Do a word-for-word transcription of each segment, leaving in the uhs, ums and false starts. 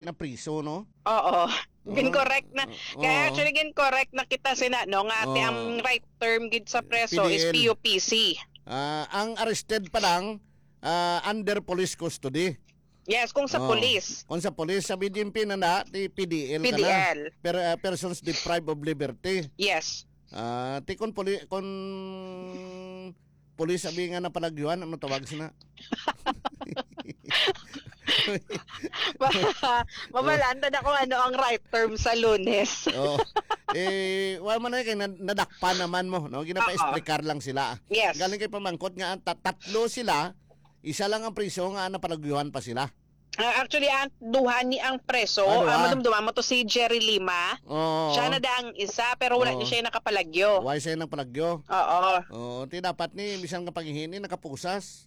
na priso, no? Oo. Gin-correct na. Oo. Kaya actually, gin-correct na kita sina, no, nga ate, Oo. ang right term gid sa preso is P D L. P U P C. Ah, ang arrested pa lang, ah, under police custody. Yes, kung sa Oo. police. Kung sa police, sa B J M P na na, ti P D L ka na. P D L. Per-, ah, persons deprived of liberty. Yes. Ah, ti kon poli-, kon pulis abi nga napalagyuhan, ano tawag sina? Ma-, mabalaan ta na kung ano ang right term sa Lunes. Oh. Eh, wa man na kay nad-, nadakpan naman mo, no? Ginapa-explicar lang sila. Yes. Galing kay pamangkot nga ang ta-, tatlo sila, isa lang ang priso nga napalagyuhan pa sila. Ah, actually, ang duha ni ang preso, Ah, duha. ah, madumduma mo to si Jerry Lima. Oo. Siya na da ang isa, pero wala Oo. ni siya nakapalagyo. Why siya nagpalagyo? Oo. Oo, ti dapat ni, bisan nga pag-ihini, nakapusas.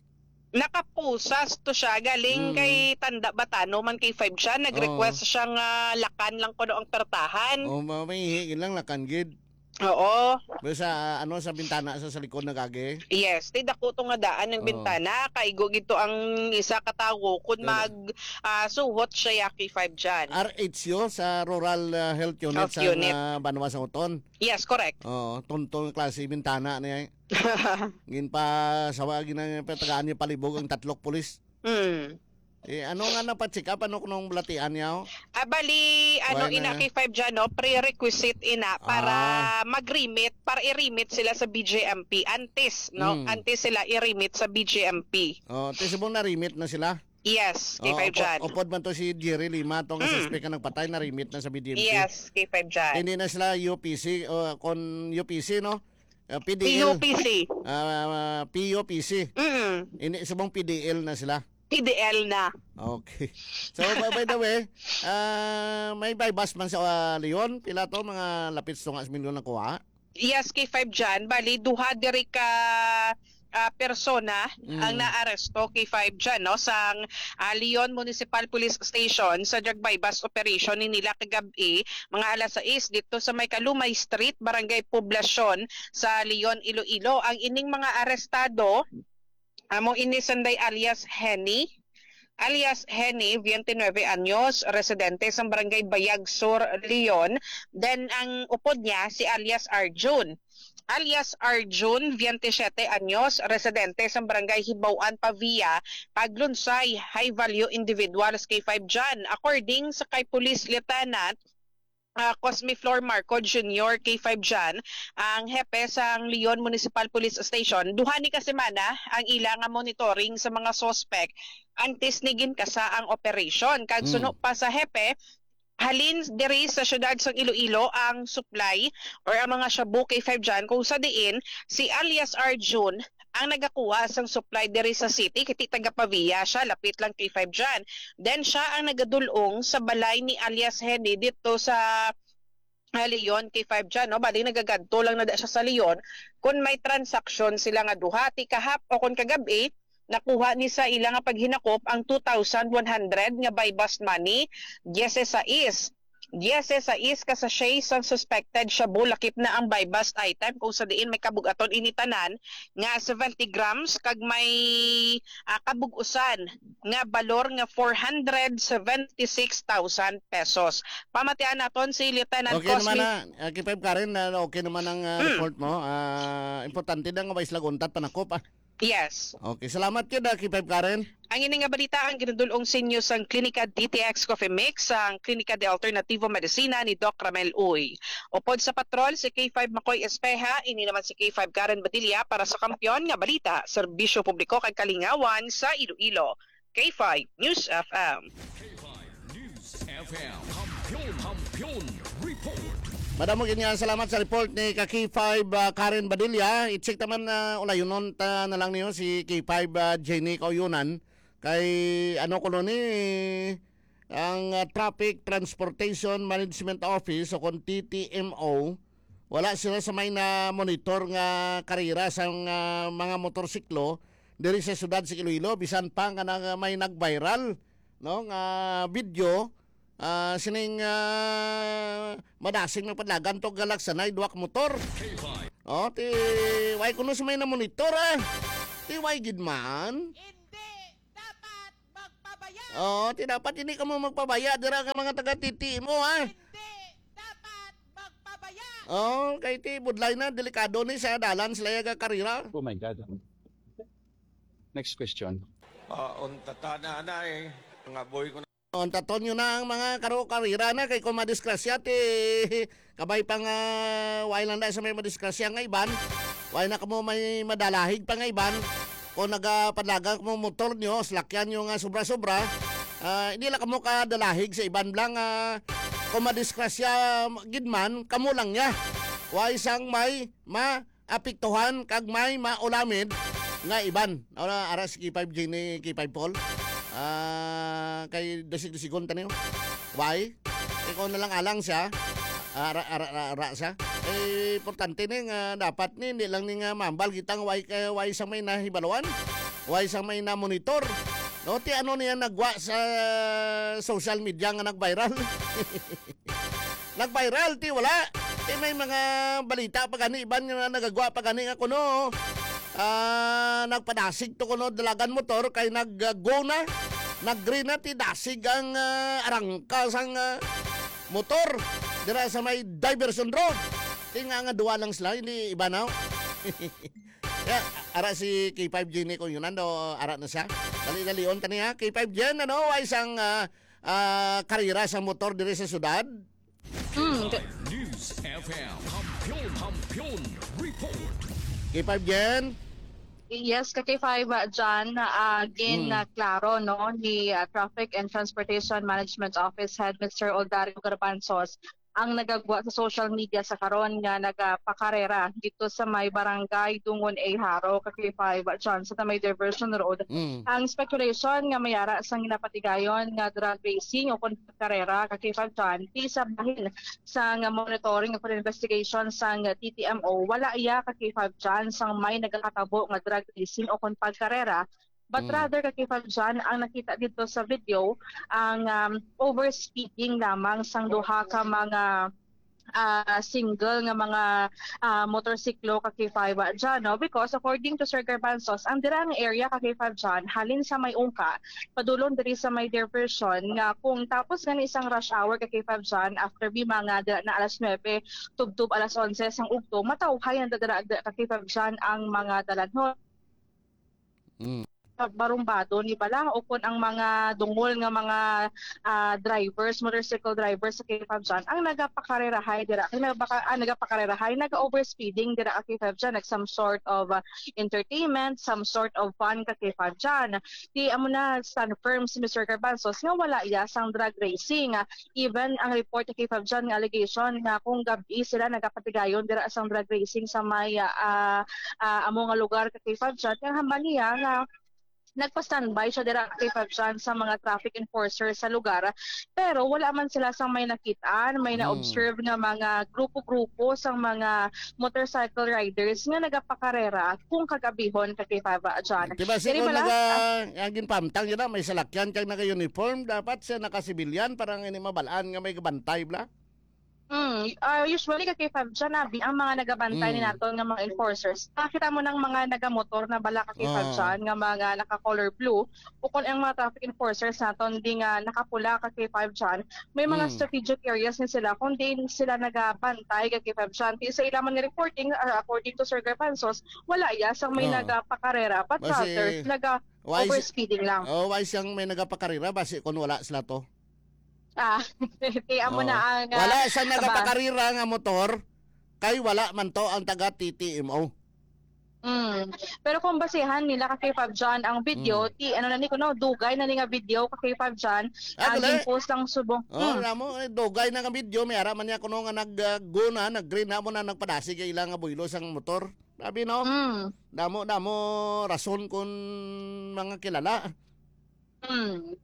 Nakapusas to siya. Galing Mm. kay Tanda Batano man kay Five siya. Nag-request Oo. siya nga lakan lang kuno ang pertahan. Oo, ma-, may ihi lang, lakan gid. Oo. Pero sa, ah, ano, sa bintana sa, sa likod na gagi? Yes, ti dako to nga daan ang Oo. bintana. Kaigo gid to ang isa ka tawo kun Pero mag, ah, suhot siya ya K five dyan. R H U sa Rural, ah, Health Unit Health sa, Unit. ah, Banwa sa Uton. Yes, correct. Oo, tunto nga klase bintana niya. Ginpasawa, ginang-, patagaan niya palibog ang tatlok pulis. Mm. Eh, ano nga napacheck up? Ano kunong balatian niya, oh? Ah, bali, ano, Why na ina nga? K five dyan, no? Prerequisite ina para Ah. mag-remit, para i-remit sila sa B J M P. Antes, no? Mm. Antes sila i-remit sa B J M P. Oh, ti subong na-remit na sila? Yes, Oh, K five upo-, dyan. upod man to si Jerry Lima, tong Mm. suspect nga nagpatay, na-remit na sa B J M P. Yes, K five dyan. Hindi na sila U P C, o kon U P C, no? Ah, P D L. P U P C. Ah, P U P C. Mm. Hindi, subong P D L na sila. P D L na. Okay. So, by, by the way, ah, may buy-bust man sa, ah, Leon. Pila to? Mga lapit sa tunga sa milyon nakuha? Yes, K five dyan. Bali, duha diri ka, ah, persona Mm. ang naaresto, K five dyan, no? Sang, ah, Leon Municipal Police Station sa drug buy-bust operation ni nila kagab-i, mga alas sais, dito sa may Kalumay Street, Barangay Poblacion sa Leon, Iloilo. Ang ining mga arestado, amo ini sanday alias Henny, alias Henny, twenty-nine anyos, residente sa Barangay Bayag Sur, Leon. Then, ang upod niya, si alias Arjun. Alias Arjun, twenty-seven anyos, residente sa Barangay Hibaw-an, Pavia, paglunsay, high value individuals, K five dyan. According sa kay Police Lieutenant, ah, Cosme Flor Marco Junior, K five dyan, ang hepe sang Leon Municipal Police Station, duha ni ka semana ang ila nga monitoring sa mga suspect antes ni ginkasa ang operation. Kag Mm. suno pa sa hepe, halin diri sa siyudad sang Iloilo ang supply or ang mga shabu, K five dyan, kung sa diin si alias Arjun ang nagakuha sang supply diri sa city, kiti taga Pavia siya, lapit lang K five dyan. Then siya ang nagadulong sa balay ni alias Henny dito sa, ah, Leon, K five dyan, no? Bali, nagagadto lang na da siya sa Leon. Kung may transaksyon sila nga duha, ti kahap o kung kagabi, nakuha ni sa ila nga paghinakop ang two thousand one hundred nga buy-bust money, diyes sais. Diyes sais ka sachet sang suspected shabu, lakip na ang buy-bust item, kung sa diin may kabug-aton ini tanan nga seventy grams, kag may, ah, kabug-usan nga balor nga four hundred seventy-six thousand pesos. Pamatian naton si Lieutenant Okay naman Cosme. na, ah, K five Karen, na okay naman ang, ah, Mm. report mo. Ah, importante na nga may sila untat panakop, ah. Yes. Okay, salamat gid, ah, K five Karen. Ang ini nga balita ang ginadul-ong sa inyo sang Klinika D T X Coffee Mix, ang Klinika de Alternativo Medicina ni Doc Ramel Uy. Upod sa patrol, si K five Makoy Espeha, ini naman si K five Karen Badilla para sa Kampiyon nga Balita, Serbisyo Publiko kag Kalingawan sa Iloilo. K five News F M. K five News F M. Kampiyon, Kampiyon Report. Madamo gid nga salamat sa report ni ka K five, ah, Karen Badilla. I-check naman, ah, ulayonon ta na lang niyo si K five, ah, Jenny Kauyonan. Kay ano kuno ni ang, ah, Traffic Transportation Management Office o kon T T M O, wala sila sa may na-monitor nga karera sang, ah, mga motorsiklo diri sa siyudad sa Iloilo, bisan pa nga nag-, may nag-viral, no, nga video, ah, sining, ah, madasing nagpadlagan to galak sanay duha ka motor. K five. Oh, ti, why kuno sa may na-monitor, ah? Ti, why gid man? Hindi dapat magpabaya. Oo, ti dapat hindi ka mo magpabaya dira ka mga taga T T M O, ha? Hindi dapat magpabaya. Oo, kay ti budlay na, delikado ni sa dalan sila yaga karira. Oh my God. Next question. Ah, unta ta na, anay. Nga boy ko na. Untaton nyo na ang mga karo karira na kay kung madisgrasya ti kabay pa nga way lang na sa may madisgrasya nga iban. Way na kamo may madalahig pa nga iban. Kung nagapadlagan kamo motor nyo, salakyan nyo nga sobra-sobra, ah, hindi lang kamo kadalahig sa iban lang, ah, kung madisgrasya gid man, kamo lang niya. Way sang may ma apektuhan kag may maulamid nga iban. Ara, ara si K five G ni K five Paul. Ah, kay dasig-dasigon ta niyo. Why? Ikaw na lang alang siya. Ara, ara, ara, ara siya. Eh, importante ni nga dapat ni, hindi lang ni nga mambal kita nga why, kay why sa may nahibaluan. Why sa may na-monitor. No, ti ano niya nagwa sa social media nga nag-viral. Nag-viral, ti wala. Ti may mga balita pa gani, iban nga nagagwa pa gani nga kuno, ah, nagpadasig to kuno dalagan motor kay nag-go na, nag-green na, ti dasig ang, ah, arangka sang, ah, motor dira sa may diversion road. Ti nga nga duwa lang sila, hindi iba na. Ya, ara si K five G ni kung yun, ano, ara na siya. Dali-dalion ta niya. K five Gen, ano, ay isang, ah, ah, karera sa motor diri sa syudad. Hmm, News F M. Kampiyon, Kampiyon Report. K five Gen. Yes, ka K five, uh, John, uh, gin, Hmm. uh, klaro, no, ni, uh, Traffic and Transportation Management Office Head Mister Oldario Garbanzos ang nagagwa sa social media sa karon nga nagapakarera dito sa may barangay Dungon A, Jaro, ka K five, John, sa may diversion road. Mm. Ang speculation nga may ara sang ginapatigayon nga drag racing o kon karera ka K five, John, ti sa bahin sang monitoring o investigation sang T T M O, wala iya ka K five, John, sang may nagakatabo nga drag racing o kon pagkarera. But Mm. rather, ka K five John, ang nakita dito sa video, ang, um, overspeeding lamang sang duha ka mga, ah, single nga mga, ah, motorsiklo, ka K five John, no? Because according to Sir Garbanzos, ang dirang area, ka K five John, halin sa may Ungka, padulong diri sa may diversion, nga kung tapos gani isang rush hour, ka K five John, after bi mga dira na alas nuebe, tubtob alas onse sang ugto, matawhay ang dira, ka K five John, ang mga dalanhon. Mm. Barumbado ni bala o kun ang mga dungol nga mga, ah, drivers, motorcycle drivers sa K five John ang nagapakarerahay dira, ang nagabaka-, ah, nagapakarerahay, naga-overspeeding dira ka K five John, like some sort of, ah, entertainment, some sort of fun ka K five John. Di amo na stand firm si Mister Garbanzos nga wala iya sang drag racing. Even ang report ni K five John nga allegation nga kung gab-i sila nagapatigayon dira sang drag racing sa may, ah, ah, amo nga lugar ka K five John, kaya hambal niya nga nagpa-standby siya dira ka K five John sa mga traffic enforcer sa lugar, pero wala man sila sang may nakit-an, may Mm. na-observe nga mga grupo-grupo sang mga motorcycle riders nga nagapakarera kung kagabihon ka K five John. Di ba, Diri siguro bala, naga-, ah, ang ginpamtang yun na, may salakyan kag naka-uniform, dapat siya naka-civilian para nga hindi mabalaan nga may kabantay, bla? Mm, ah, usually, ka K five John, abi, ang mga nagabantay ni Mm. naton nga mga enforcers, nakita mo ng mga nagamotor na bala, ka K five Ah. John, nga mga naka-color blue, o kung ang mga traffic enforcers naton di nga nakapula, ka K five John, may mga Mm. strategic areas ni sila kung diin sila nagabantay, ka K five John. Di sa ila man nga reporting, ah, according to Sir Garbanzos, wala iya sang may Oo. nagapakarera, but Basi, rather, naga why si-, overspeeding lang. Oh, why siyang may nagapakarera? Basi kung wala sila to. Ah, kaya mo Oo. na ang, ah, Wala siyang aba. nagapakarera nga motor, kay wala man to ang taga T T M O. Mm. Pero kung basihan nila ka K five John ang video, Mm. ti, ano na ni kuno, dugay na ni nga video ka K five John, Ah, ang gali? gin-post lang subong. Oh, Hmm. alam mo, eh, dugay na nga video, may ara man niya kuno nga nag, ah, go na, nag-green na mo na, nagpadasig ang ila nga buylo sang motor. Grabe, no? Mm. Damo, damo rason kung mga kilala. Hmm.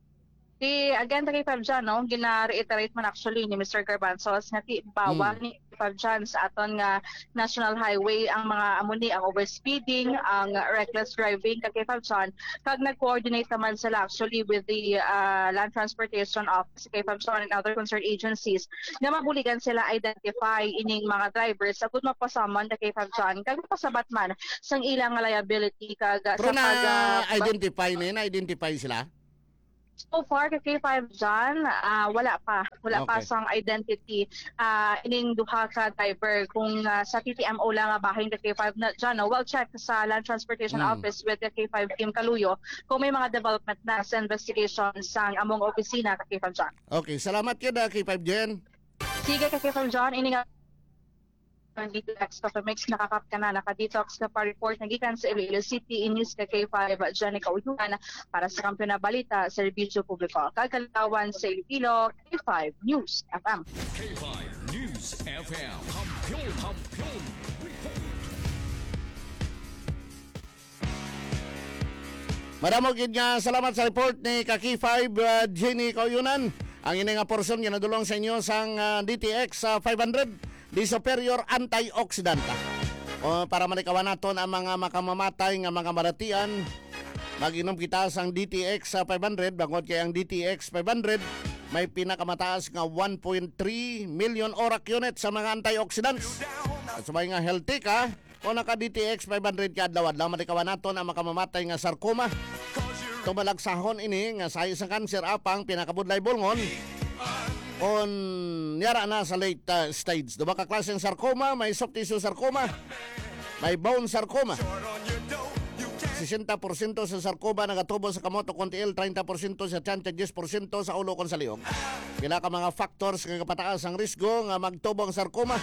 Ti, again, ta kay Fab John, no, gina-reiterate man actually ni Mister Garbanzos nga ti bawal Hmm. ni Fab John sa aton nga national highway ang mga amo ni, ang overspeeding, ang reckless driving, ka kay Fab John. Kag nag-coordinate naman sila actually with the, ah, Land Transportation Office, kay Fab John, and other concerned agencies nga mabuligan sila identify ining mga drivers agud mapasaman, ka kay Fab John, kag mapasabat man sang ilang liability kag, ah, Pero sa pag, ah, na-identify na, na-identify sila? So far, ka K five John, ah, wala pa. Wala pa Okay. sang identity, ah, ining duha ka driver. Kung, ah, sa T T M O lang nga bahin ka K five na, John, no? Well, check sa Land Transportation Mm. Office with the K five Team Kaluyo kung may mga development na sa investigation sang among opisina ka K five John. Okay, salamat gyud, ah, K five Jen. Sige, ka K five John, ini nga Ang D T X Coffee Mix, nakakap ka na, naka-detox ka pa. Report na gikan sa Iloilo City, inis ka K five, Jenny Kauyuan, para sa Kampiyon na Balita, Serbisyo Publiko, kag Kalitawan sa Iloilo, K five News F M. K five News F M. Kampiyon, kampiyon. Madamo gid nga salamat sa report ni ka K five, uh, Jenny Kauyunan. Ang ini nga porsyon ginadulong sa inyo sang, uh, D T X, uh, five hundred, the superior antioxidant. O, para malikawan naton ang mga makamamatay nga mga maratian, mag-inom kita sang D T X, uh, five hundred, bangod kay ang D T X five hundred may pinakamataas nga one point three million ORAC units sa mga antioxidants. At subay nga healthy ka, kung naka D T X five hundred ka adlaw-adlaw, malikawan naton ang makamamatay nga sarcoma. Tumalagsahon ini nga sahi sang kanser, apang pinakabudlay bulngon kon yara na sa late, uh, stage. Duha ka klase ang sarcoma, may soft tissue sarcoma, may bone sarcoma. Sesenta porsyento sa sarcoma nagatubo sa kamot o kon tiil, treinta porsyento sa tiyan, kag diyes porsyento sa ulo kon sa liog. Pila ka mga factors nga kapataas ang risgo nga magtubo ang sarcoma.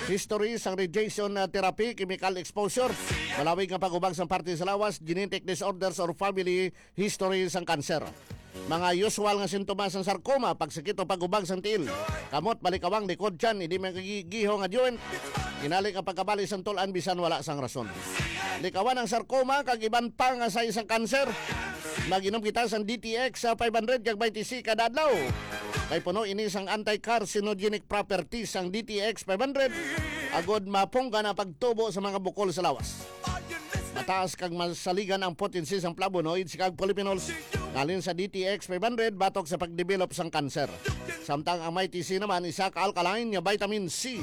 History sang radiation, uh, therapy, chemical exposure, malawig nga pag-ubag sang parte sa lawas, genetic disorders or family history sang kanser. Mga usual nga sintomas sang sarcoma, pagsakit o pag-ubag sang tiil, kamot, balikawang, likod, tiyan, hindi magigihong nga joint, inali nga pagkabali sang tul-an bisan wala sang rason. Likawan ang sarcoma kag iban pa nga sahi sang kanser. Mag-inom kita sang D T X sa five hundred kag twenty C kada adlaw. Kay puno ini sang anti-carcinogenic properties sang D T X five hundred, agod mapunggan ang pagtubo sa mga bukol sa lawas. Mataas kag masaligan ang potency sang flavonoids kag polyphenols nalin sa D T X five hundred batok sa pagdevelop sang kanser. Samtang ang Mighty C naman isa ka alkaline nga vitamin C,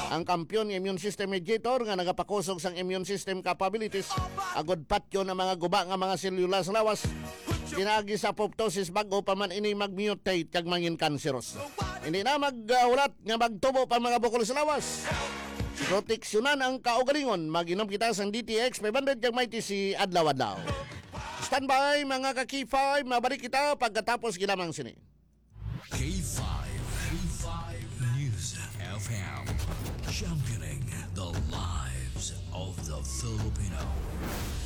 ang kampiyon nga immune system mediator nga nagapakusog sang immune system capabilities, agod patyon ang mga guba nga mga selula sa lawas. Pinaagi sa apoptosis, bag-o pa man ini mag-mutate kag mangin kanseros. Hindi na maghulat nga magtubo pa mga bukol sa lawas. Proteksyonan ang kaugalingon. Mag-inom kita sang D T X five hundred kag Mighty C adlaw-adlaw. Standby, mga ka K five, mabalik kita pagkatapos gilamang sini. K five, K five News F M, championing the lives of the Filipino.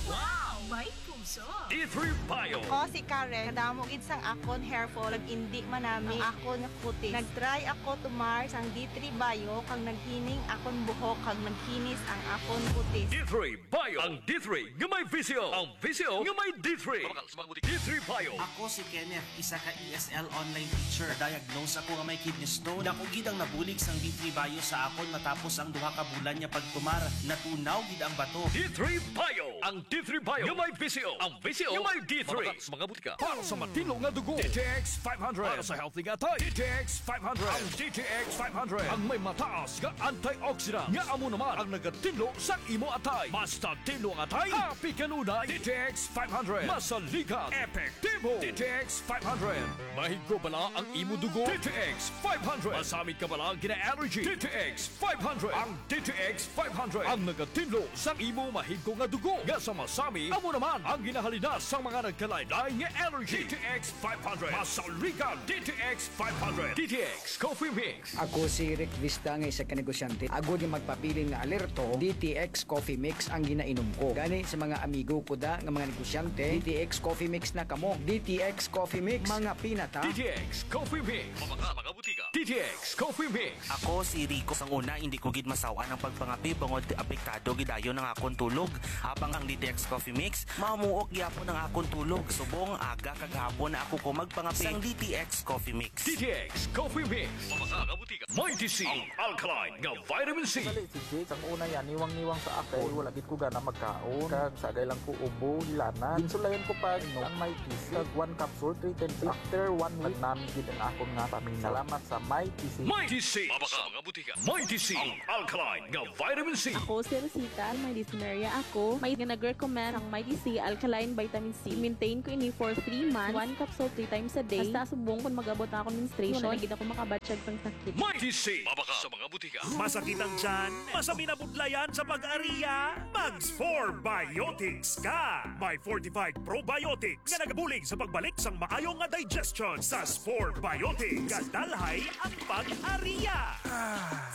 Wow! May puso! D three Bio. Ako si Karen. Kadamo gid sang akon hair fall, nag-indi manami ang akon kutis. Nag-try ako tumar sang D three Bio, kag naghining akon buhok, kag naghinis ang akon kutis. D three Bio. Ang D three nga may visyo. Ang visyo nga may D three. Mabakal sa mga butika. D three Bio. Ako si Kenneth, isa ka E S L online teacher. Na-diagnose ako nga may kidney stone. Dako gid ang nabulig sang D three Bio sa akon matapos ang duha ka bulan nga pagtumar. Natunaw gid ang bato. D three Bio. Ang D three Bio nga may visyo. Ang visyo nga may D three. Mabakal sa mga butika. Para sa matinlo nga dugo, D T X five hundred. Para sa healthy nga atay, D T X five hundred. Ang D T X five hundred ang may mataas nga antioxidant, nga amo naman ang nagatinlo sa imo atay. Mas natinlo ang atay, happy kanunay. D T X five hundred. Masaligan, epektibo. D T X five hundred. Mahigo bala ang imo dugo? D T X five hundred. Masamit ka bala gina-allergy? D T X five hundred. Ang D T X five hundred ang nagatinlo sang imo mahigo nga dugo nga sa masami, amo naman ang ginahalinas sang mga nagkalain-lain nga allergy. D T X five hundred. Masaligan, D T X five hundred. D T X Coffee Mix. Ako si Rick Vista nga isa ka negosyante. Agod nga magpabilin nga alerto, D T X Coffee Mix ang ginainom ko. Gani sa mga amigo ko da nga mga negosyante, D T X Coffee Mix na kamo. D T X Coffee Mix, mga pinata. D T X Coffee Mix. Mabakal sa mga butika. D T X Coffee Mix. Ako si Rico. Sang una, hindi ko gid masaw-an ang pagpangape bangod apektado gid dayon ang akon tulog. Habang ang D T X Coffee Mix, mamuok gyapon ang akon tulog. Subong aga kag hapon na ako ko magpangape sang D T X Coffee Mix. D T X Coffee Mix. Mabakal sa mga butika. Mighty C, ang alkaline nga vitamin C. Dali, si Jake, sang una yan, niwang-niwang sa ako. Wala gid ko gana magkaon. Kag sagay lang ko ubo, hilanat. Ginsulayan ko pa, no, ang Mighty C. Kag one capsule, three times. After one week, nagnami gid ang akon nga stamina. Salamat sa Mighty C. Mighty C. Mabakal sa mga butika. Mighty C, ang alkaline nga vitamin C. Ako si Rosita, may dysmenorrhea ako. May nag-recommend ang Mighty C, alkaline vitamin C. Maintain ko ini for three months, one capsule three times a day. Hasta subong kon mag-abot na akong menstruation, wala na gid ako makabatyag sang sakit. Mighty C, mabakal sa mga butika. Masakit ang tiyan? Masami na budlayan sa pag-ariya? Mag Spore Biotics ka! May fortified probiotics nga nagabulig sa pagbalik sang maayo nga digestion. Sa Spore Biotics, gadalhay ang pag-ariya.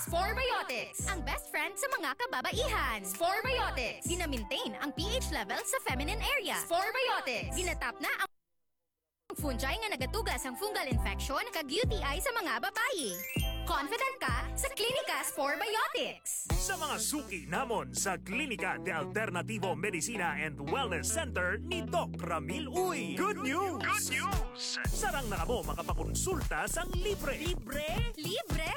Spore Biotics, ang best friend sa mga kababaihan. Spore Biotics, ginamintain ang P H level sa feminine area. Spore Biotics, ginatap na ang fungi nga nagatuga sang fungal infection kag U T I sa mga babayi. Confident ka sa Clinica Spore Biotics. Sa mga suki namon sa Klinika de Alternativo Medicina and Wellness Center ni Doc Ramil Uy. Good news! Good news! Sarang na kamo makapakonsulta sang libre. Libre? Libre!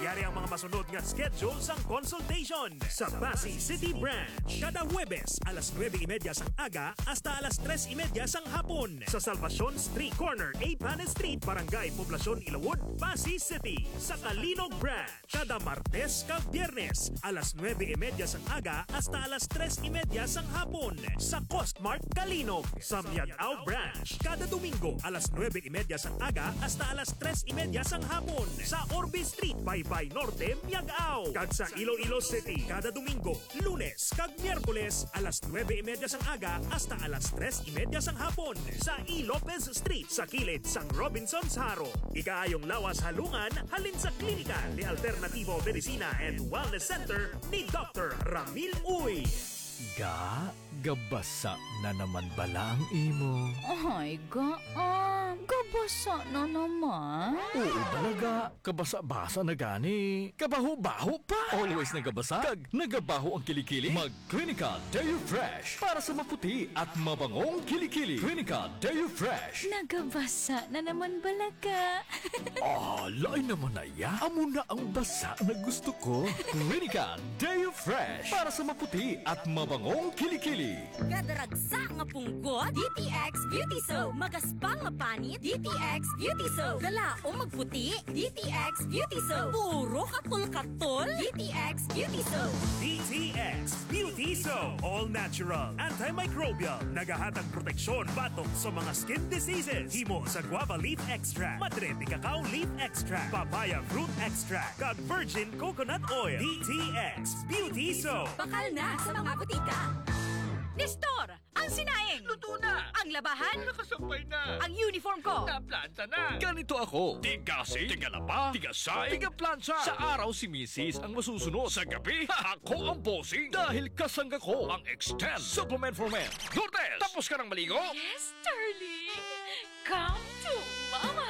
Yari ang mga masunod nga schedule sang consultation. Sa Passi City Branch, kada Huwebes alas nuebe y media sang aga hasta alas tres y media sang hapon. Sa Salvacion Street, corner Eighth Street, Barangay Poblacion, Ilawod, Passi City. Sa Calinog Branch, kada Martes kag Biyernes, alas nuebe y media sang aga hasta alas tres y media sang hapon, sa Costmart Calinog. Sa Miag-ao Branch, kada Domingo, alas nuebe y media sang aga hasta alas tres y media sang hapon, sa Orbe Street, Baybay Norte, Miag-ao. Kag sa Iloilo City, kada Domingo, Lunes, kag Miyerkules, alas nuebe y media sang aga hasta alas tres y media sang hapon, sa E. Lopez Street, sa kilid sang Robinsons Jaro. Ikaayong lawas halungan halin sa Klinika de Alternativo Medicina and Wellness Center ni Doctor Ramil Uy. Ga, gabasa na naman bala ang imo? Ay, ga, ah, gabasa na naman. Oo, bala, ga. Kabasa-basa na gani. Kabaho-baho pa. Always nagabasa. Kag nagabaho ang kilikili. Mag Clinica Deo Fresh para sa maputi at mabangong kilikili. Clinica Deo Fresh. Nagabasa na naman bala ka. Ah, lain naman na ya. Amo na ang basa na gusto ko. Clinica Deo Fresh para sa maputi at mabangong kilikili. Kadaragsa nga punggot, D T X Beauty Soap. Magaspang nga panit, D T X Beauty Soap. Galaom magputi, D T X Beauty Soap. Puro katol-katol, D T X Beauty Soap. D T X Beauty Soap. All natural, antimicrobial. Nagahatag proteksyon batok sa mga skin diseases. Himo sa guava leaf extract, madre de cacao leaf extract, papaya fruit extract, kag virgin coconut oil. D T X Beauty Soap. Bakal na sa mga butika. Nestor, ang sinaing. Luto na. Ang labahan. Nakasampay na. Ang uniform ko. Naplanta na. Ganito ako. Tigasing, tigalaba, tigasay, tigaplantsa. Sa araw si misis ang masusunod. Sa gabi, ako ang bossing. Dahil kasangga ko ang Extend Supplement for Men. Lourdes, tapos ka nang maligo? Yes, darling. Come to Mama.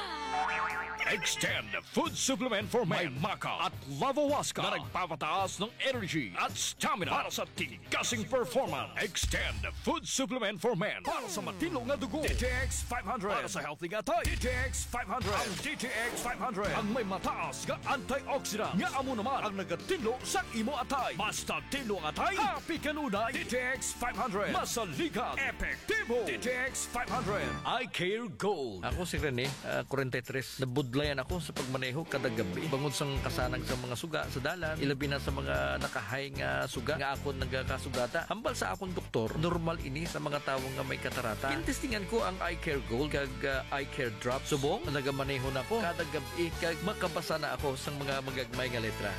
Extend Food Supplement for Men. May maca at lavahuasca na nagpapataas ng energy at stamina para sa tigasing performance. Extend Food Supplement for Men. Para sa matinlo nga dugo, D T X five hundred. Para sa healthy nga atay, D T X five hundred. Ang D T X five hundred ang may mataas nga antioxidant nga amo naman ang nagatinlo sa imo atay. Basta tinlo ang atay, happy kanunay. D T X five hundred. Masaligan, epektibo. D T X five hundred. Eye Care Gold. Ako si Rene, ah, forty-three. Nabudlayan ako sa pagmaneho kada gabi. Bangod sang kasanag sa mga suga sa dalan, ilabi na sa mga nakahay nga suga nga akon nagakasugata. Hambal sa akon doktor, normal ini sa mga tawo nga may katarata. Gintestingan ko ang Eye Care Gold kag, ah, Eye Care Drop. Subong, nagamaneho na ko kada gab-i kag makabasa na ako sang mga magagmay nga letra.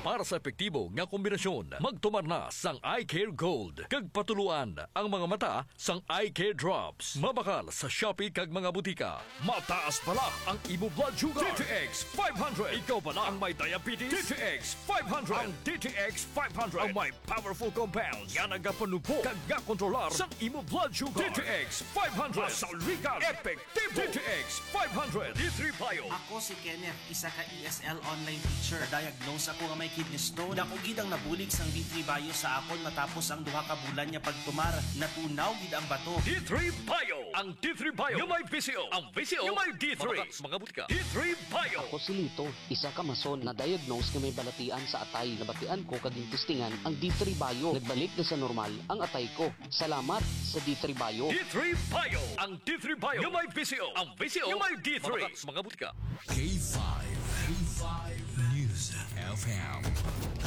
Para sa epektibo nga kombinasyon, magtumar na sang Eye Care Gold kag patuluan ang mga mata sang Eye Care Drops. Mabakal sa Shopee kag mga butika. Mataas bala ang imo blood sugar? D T X five hundred. Ikaw bala ang may diabetes? D T X five hundred. Ang D T X five hundred ang may powerful compounds nga nagapanubo kag gakontrolar sang imo blood sugar. D T X five hundred. Masaligan, epektibo. D T X five hundred. D three Bio. Ako si Kenneth, isa ka E S L online teacher. Diagnose ako nga may kidney stone. Dako gid ang nabulig sang D three Bio sa akon matapos ang duha ka bulan nga pagtumar. Natunaw gid ang bato. D three Bio. Ang D three Bio nga may V C O. Ang V C O nga may D three. Mabakal sa mga butika. D three Bio. Ako si Lito, isa ka mason na diagnose nga may balatian sa atay. Nabatian ko kag gintestingan ang D three Bio. Nagbalik na sa normal ang atay ko. Salamat sa D three Bio. D three Bio. Ang D three Bio nga may V C O. Ang V C O nga may D three. Mabakal sa mga butika. K five. K five News. F M,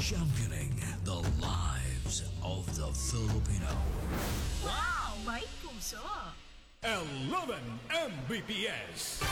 championing the lives of the Filipino. Wow! May puso! Eleven M B P S.